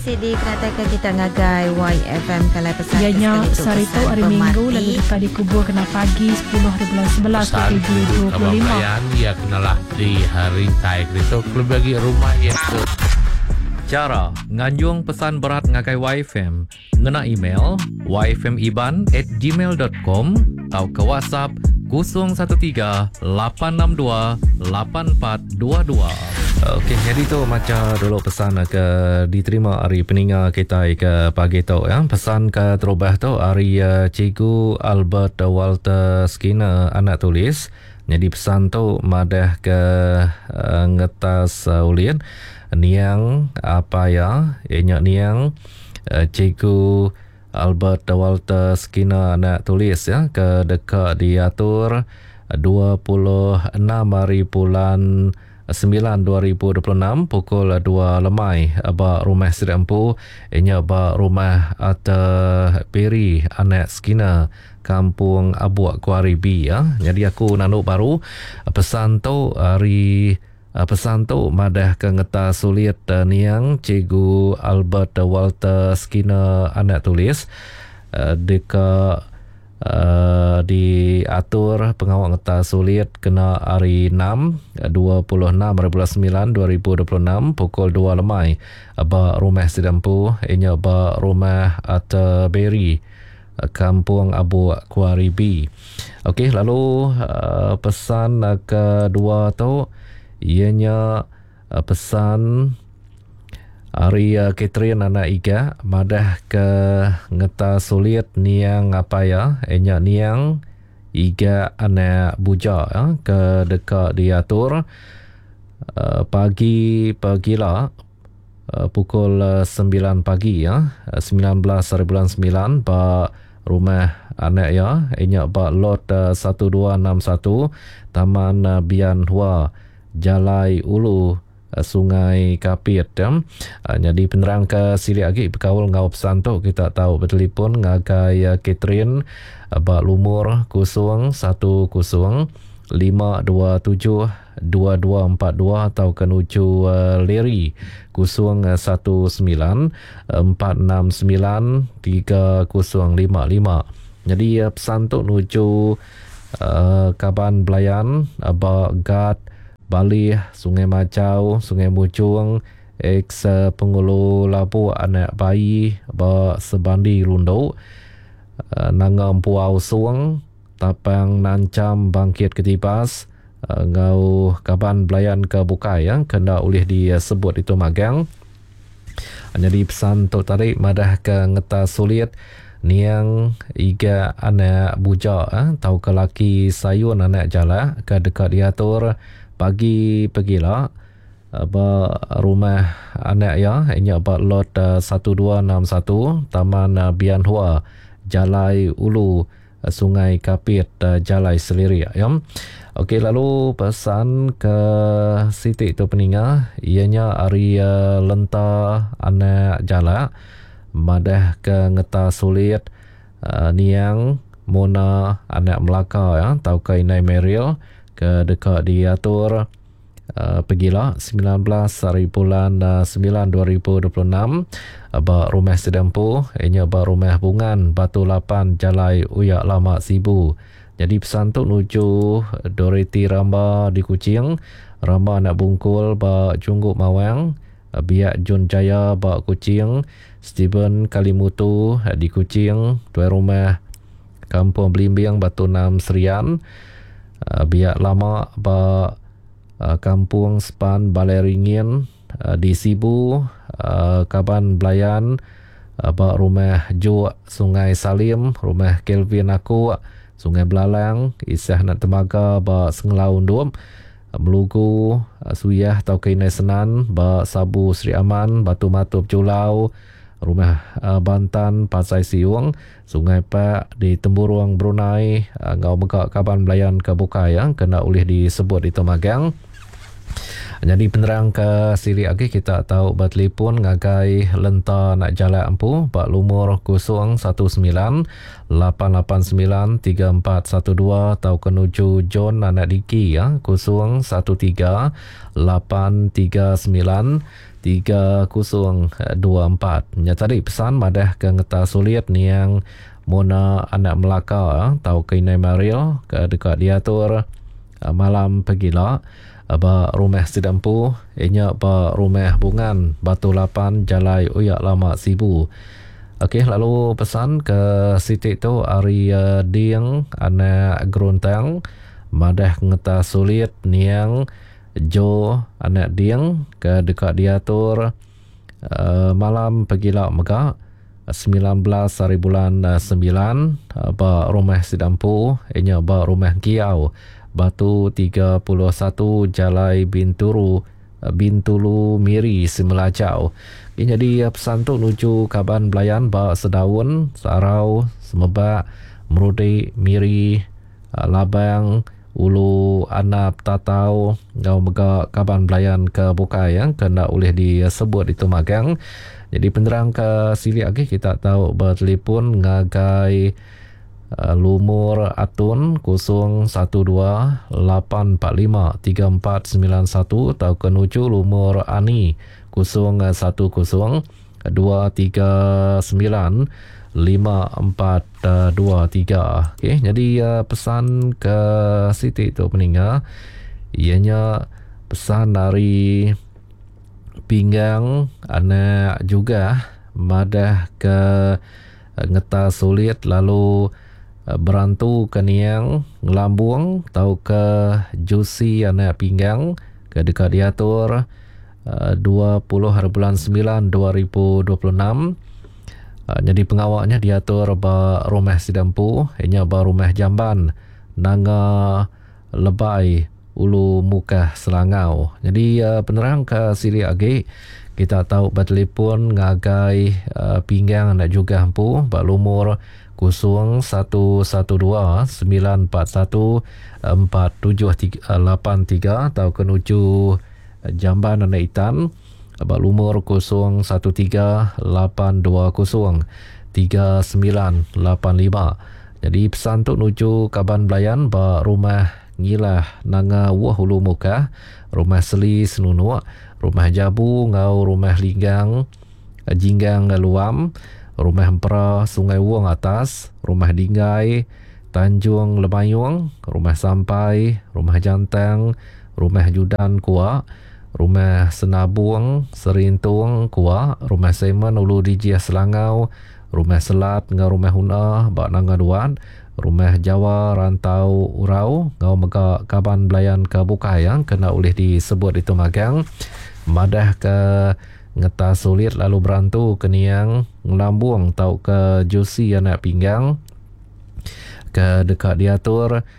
Sidi kenataika kita ngagai YFM Kalai pesan Iya ke nya sekali tu sehari tu pesan hari Minggu pemati. lalu deka dikubur kena pagi 10 haribulan 11 Pesan kerindu kaban 2025. belayan iya kenalah di rintai keritu kelebih agi rumah iya ke. Chara nganjung pesan berat ngagai YFM ngena email yfmiban@gmail.com tauka WhatsApp 013 862 8422. Okey, nyadi tu macha dulu pesan ke diterima ari peninga kitai ke pagi tu ya. Pesan ke terubah tu ari eh, Cikgu Albert Walter Skinner anak tulis. Nyadi pesan tu madah ke eh, ngetas eh, ulin niang apa ya, iya nya niang Cikgu Albert Walter Skinner anak tulis ya ke deka diatur 26 hari bulan 9 2026 pukul 2 lemai ba rumah sida empu inya ba rumah Arthur Perry anak Skinner Kampung Abuk Kuari B ya. Jadi aku nandu baru pesan tu hari Pesan tu madahka ngeta sulit niang Cikgu Albert Walter Skinner anak tulis deka diatur pengawa ngeta sulit kena hari Enam, 26 hari bulan semilan 2026 pukul dua lemai ba rumah sida empu iya nya ba Rumah Arthur Berry, Kampung Abuk Kuari B. Okey lalu pesan kedua tu iya nya pesan ari Catherine anak Iga madah ke ngeta sulit niang apai iya iya nya niang Iga anak Buja ke deka diatur pagi pegila pukul 9 pagi ya 19 hari bulan 9 ba rumah anak iya inya ba lot 1261 Taman Bian Hua Jalai Ulu Sungai Kapit ya. Nyadi penerang ke silik agi bekaul enggau pesan tu kita tau betelefon ngagai Catherine ba lumur 010 527 2242 tauka nuju Larry 019 469 3055. Nyadi pesan tu nuju kaban belayan ba Gat, Balih, Sungai Majau, Sungai Mujong, ex Pengulu Labuk anak Baie ba Sebandi Lundu, Nanga Empuau Song, Tapang Nancham Bangkit Ketibas enggau kaban belayan ke bukai ke enda ulih disebut ditu magang. Nyadi pesan tu tadi madahka ngeta sulit niang iga anak buja tauka laki sayun anak jalak ke deka diatur pagi pegila ba rumah anak iya nya ba lot 1261 Taman Bian Hua Jalai Ulu Sungai Kapit Jalai Selirik ya. Okey lalu pesan ke siti tu peninga iya nya ari Lenta anak Jalak madah ke ngeta sulit niang Mona anak Melaka ya tauka indai Meryl ke deka diatur Pegila 19 hari bulan 9 2026 ba rumah sida empu iya nya ba rumah Bungan Batu Lapan Jalai Uyak Lama Sibu. Nyadi pesan tu nuju Dorothy Ramba di Kuching, Ramba anak Bungkul ba Junggu Mawang, Biak Jun Jaya ba Kuching, Stephen Kalimutu di Kuching, Tuai Rumah Kampung Belimbing Batu Enam Serian, Biak lama ba Kampung Sepan Balai Ringin di Sibu, kaban belayan ba Rumah Juk Sungai Salim, Rumah Kelvin Akuk, Sungai Belalang, Isah Anak Temaga ba Sengelau Undop, Melugu, Suyah tauka Indai Senan ba Sabu Sri Aman, Batu Matup Julau, Rumah Bantan Pasai Siung, Sungai Pak di Temburong Brunei enggau mega kaban belayan ke bukai ke enda ulih disebut ditu magang. Nyadi penerang ke silik agi kita tau betelefon ngagai Lenta Anak Jalak empu ba lumur 019 889 3412 tauka nuju John Anak Diki 013 839. 3024. Nya tadi pesan madah ke ngeta sulit niang Mona anak Melaka tau ke Inai Mariel ke deka diatur malam pegila ba rumah sida empu inya ba rumah Bungan Batu 8 Jalai Uyak Lama Sibu. Okey lalu pesan ke siti tu ari Ding anak Geruntang madah ngeta sulit niang Joe anak Ding ke deka diatur malam pegila mega 19 hari bulan 9 ba rumah sida empu inya ba rumah Kiau Batu 31 Jalai Binturu Bintulu Miri Semelajau. Ini jadi pesan tu nuju kaban belayan ba Sedaun, Sarau, Semebak, Merudi, Miri, Labang, Ulu Anap Tatau enggau mega kaban belayan ke bukai ya, ke enda ulih disebut itu magang. Jadi penerang ke silik lagi kita tahu bertelefon ngagai lumur Atun 012 845 3491 atau ke nuju lumur Ani 010 239 5423. Okey, jadi pesan ke Siti tu peninga ianya pesan dari Pinggang anak juga madah ke ngeta sulit lalu berantu ke niang ngelambung tau ke Jusi anak Pinggang ke deka diatur 20 hari bulan 9 2026. Jadi pengawaknya diatur ba rumah Sidampu ianya ba rumah Jamban Nanga Lebai Ulu Mukah Selangau. Jadi penerang ke silik agi kita tahu bertelefon ngagai Pinggang anak juga empu ba lumur 0112 941 4783 atau ke nuju Jamban anak Itan ba lumur 013 820 3985. Jadi pesan tu nuju kaban belayan ba rumah Ngilah Nanga Wuh Ulu Mukah, rumah Seli Senunuk, rumah Jabu ngau rumah Linggang Jinggang Luam, rumah Empera Sungai Wong Atas, rumah Dinggai Tanjung Lemayung, rumah Sampai, rumah Jantang, rumah Judan Kuak, rumah Senabung Serintung Kuak, rumah Simon Ulu Dijih Selangau, rumah Selat ngau rumah Huna ba Nanga Duat, rumah Jawa Rantau Urau ngau mega kaban belayan ke bukai yang kena ulih disebut itu magang madah ke ngeta sulit lalu berantu ke niang ngelambung tau ke Jusi anak Pinggang ke deka diatur.